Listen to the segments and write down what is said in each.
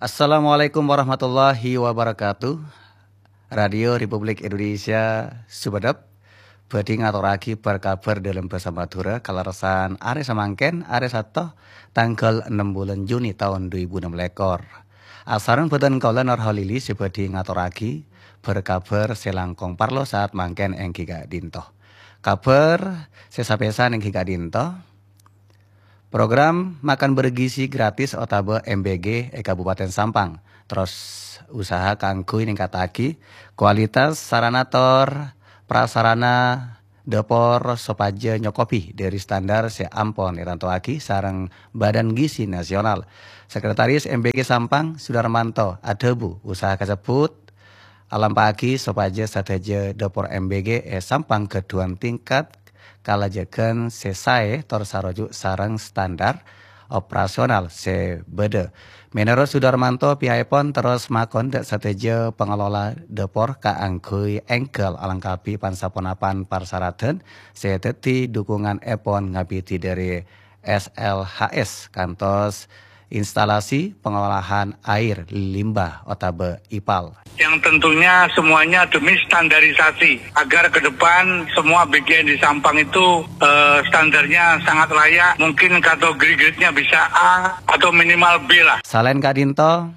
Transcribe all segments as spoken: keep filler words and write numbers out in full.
Assalamualaikum warahmatullahi wabarakatuh. Radio Republik Indonesia Sumenep bhâdhi ngatorraghi bhâr-kabhâr dâlem bhâsa Madhurâ kalerressan arè samangkèn, arè Sabto, tangghâl ennem bulân Juni taon dhu èbu ennem lèkor. Asareng bhâdhân kaulâ Nur Holili sè bhâdhi ngatorraghi bhâr-kabhâr sè langkong parlo saat mangkèn èngghi ka'dinto. Kabhâr sè sapèsan èngghi ka'dinto. Program makan bergizi gratis otabâ M B G è Kabupaten Sampang, terros usaha kaangghuy ningkataghi kualitas sarana tor prasarana dâpor sopajâ nyokobi dâri standar sè ampon ètantowaghi sareng Badan Gizi Nasional. Sekretaris M B G Sampang, Sudarmanto, adhâbu usaha kasebbhut alampa'aghi sopajâ sadhâjâ dâpor M B G è Sampang ghâdhuwân tingkat kalajaghân sè saè tor saroju' sareng standar operasional sè bâdâ. Mènorot Sudarmanto, pihakèpon terros makon dâ' sadhâjâ pangelola dâpor kaangghuy èngghâl alengkapi pan-saponapan parsaradhân sè dhâddhi dhukungannèpon ngabidhi dâri S L H S kantos instalasi pengolahan air limbah otabâ ipal. Yang tentunya semuanya demi standarisasi, agar ke depan semua B G N di Sampang itu, eh, standarnya sangat layak. Mungkin kategori grade-nya bisa A atau minimal B lah. Salaèn ka'dinto,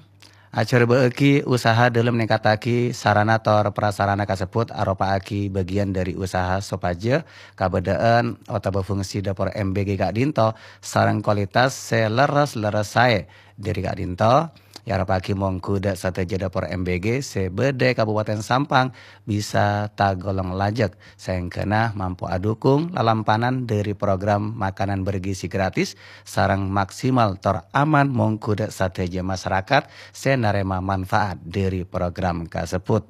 ajhârbâ'âghi usaha dâlem ningkataghi sarana tor prasarana kasebbhut aropa'aghi bâgiyân dâri usaha sopajâ kabâdâ'ân otabâ fungsi dâpor M B G ka'dinto sareng kualitas sè lerres-lerres saè. Dâri ka'dinto, èaropa'aghi mongghu dâ' sadhâjâ dâpor M B G sè bâdâ è Kabupaten Sampang bisa tagolong lajâk, saèngghâna mampo adhukung lalampanan dâri program makanan bergizi gratis sareng maksimal tor aman mongghu dâ' sadhâjâ masarakat sè narèma manfaat dâri program kasebbhut.